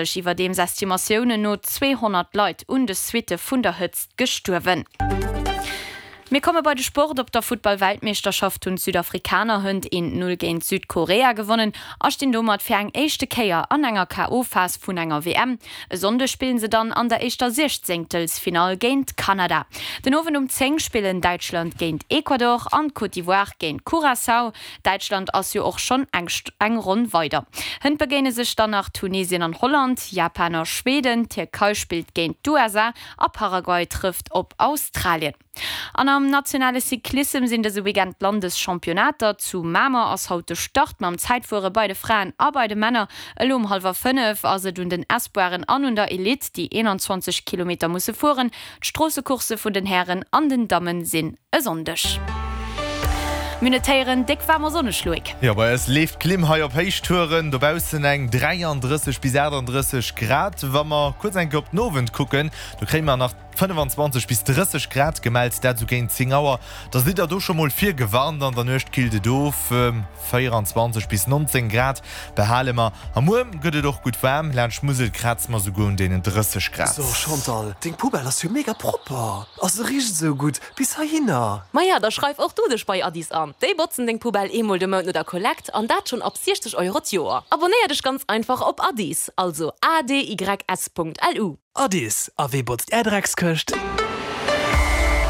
Iwwerdeems Estimatiounen no 200 Leit un de Suitte vun der Hëtzt gestuerwen. Mir komme bei de Sport. Op der Futtball-Weltmeeschterschaft hunn d'Südafrikaner hënt een 0 géint Südkorea gewonnen a stinn domat fir eng éischte Kéier an enger KO-Phas vun enger WM. E Sonndeg spillen se dann an der éischter Siechzéngtelsfinall géint Kanada. Den Owend um 10 spillen Däitschland géint Ecuador an d'Côte d'Ivoire géint Curaçao. Däitschland ass jo och schonn eng eng Ronn weider. Hënt begéine sech dann nach Tunesien an Holland, Japan a Schweden, d'Tierkei spillt géint d'USA a Paraguay trëfft op Australien. An am nationale Cyclissem sinn dëse Weekend d'Landeschampionnaater. Zu Mamer ass haut de Start mam Zäitfuere bei de Fraen a bei de Männer. Elo um hallwer 5 ass et un den Espoiren an un der Elite, déi 21 Kilometer musse fueren. D'Stroossecoursse vun den Hären an den Damme sinn e Sonndeg. Mir notéieren déck waarm a sonneg, Loïc. Jo, bei eis leeft d'Klimm hei op Héichtouren. Dobaussen eng 33 bis 38 Grad. Wa mer kuerz eng Kéier op den Owend kucken, do kréie mer nach 25 bis 30 Grad gemellt, dat esou géint 10 Auer. Da sidd der do scho mol virgewarnt. An der Nuecht killt et of, 24 bis 19 Grad behale mer. A muer gëtt et och gutt waarm, laanscht d'Musel kraze mer souguer un deenen 30 Grad. So Chantal, deng Poubelle ass jo mega propper a se richt esou gutt bis heihinner. Maja, da schreif och du dech bei Addis an. Déi botzen deng Poubelle eemol de Mount no der Kollekt an dat schonn ab 60 Euro d'Joer. Abonnéier dech ganz einfach op Addis, also adys.lu. Addis, a wee botzt är Dreckskëscht?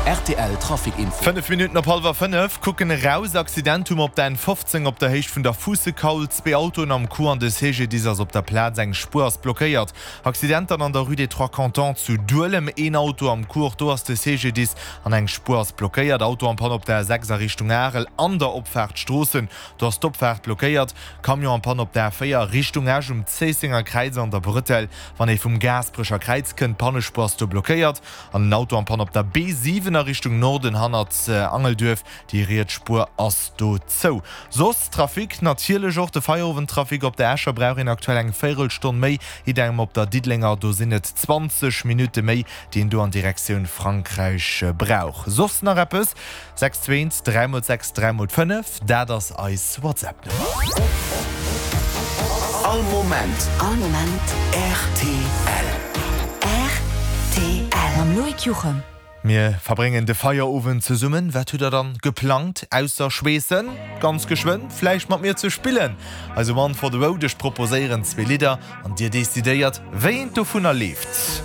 Rtl Trafic Info. 5 Minutten op hallwer 5, kucken eraus, Accident hu mer op der N15 op der Héicht vun der Fuussekaul, zwee Autoen am Coup an de CGDIS ass op der Plaz, eng Spuer ass blockéiert. Accident dann an der Rue des Trois Cantons zu Duelem, een Auto am Coup, och do ass de CGDIS an eng Spuer ass blockéiert. Auto en panne op der A6 a Richtung Arel an der Opfaart Stroossen, do ass d'Opfaart blockéiert. Camion en panne op der A4 Richtung Esch um Zéissenger Kräiz an der Bretelle, Wann ee vum Gaasperecher Kräiz kënnt, d'Pannespuer ass do blockéiert an den Auto am Panne op der B7 a Richtung Norden hannert Angelduerf, déi riets Spuer ass do zou. Soss Trafic, natierlech och de Feierowendtrafic op der Escher brauch een aktuell eng Véirelstonn méi, idem op der Diddelenger, do sinn et 20 Minutte méi, déi een do an Direktioun Frankräich brauch. Soss nach eppes? 6 2 1 3 mol 6 3 mol 5, dat ass eis WhatsApp-Nummer. All Moment. All Moment. Rtl. Rtl. Mam Loïc Juchem. Mir verbréngen de Feierowend zesummen. Wat hutt der dann geplangt ausser schweessen? Ganz geschwënn vläicht mat mir ze spillen? Eise One for the Road, ech proposéieren zwee Lidder an dir decidéiert wéi eent dovunner leeft.